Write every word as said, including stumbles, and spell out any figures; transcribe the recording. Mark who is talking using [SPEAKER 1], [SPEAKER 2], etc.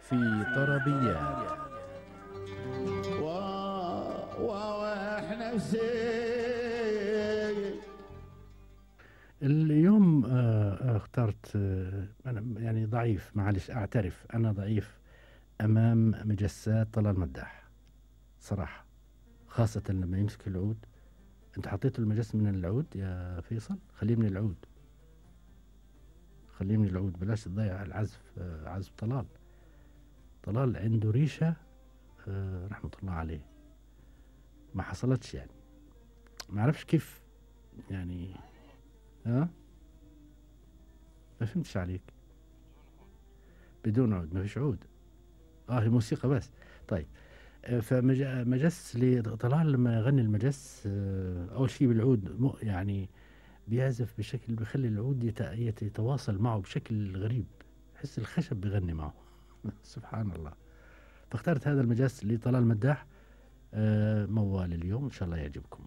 [SPEAKER 1] في طربيات.
[SPEAKER 2] واحنا نفسي
[SPEAKER 1] اليوم آه، اخترت آه، أنا يعني ضعيف، معلش أعترف أنا ضعيف أمام مجسات طلال مداح صراحة، خاصة لما يمسك العود. أنت حطيت المجس من العود يا فيصل، خليه من العود، خليه من العود، بلاش تضيع العزف. آه، عزف طلال، طلال عنده ريشة آه، رحمة الله عليه، ما حصلتش يعني، ما أعرفش كيف يعني. ها ما فهمتش عليك. بدون عود، ما فيش عود. اه هي موسيقى بس. طيب آه، فمجس لطلال لما يغني المجس آه، اول شيء بالعود مو- يعني بيعزف بشكل بيخلي العود يت- يت- يتواصل معه بشكل غريب، حس الخشب بيغني معه. سبحان الله. فاخترت هذا المجس لطلال مداح. آه، موال اليوم ان شاء الله يعجبكم.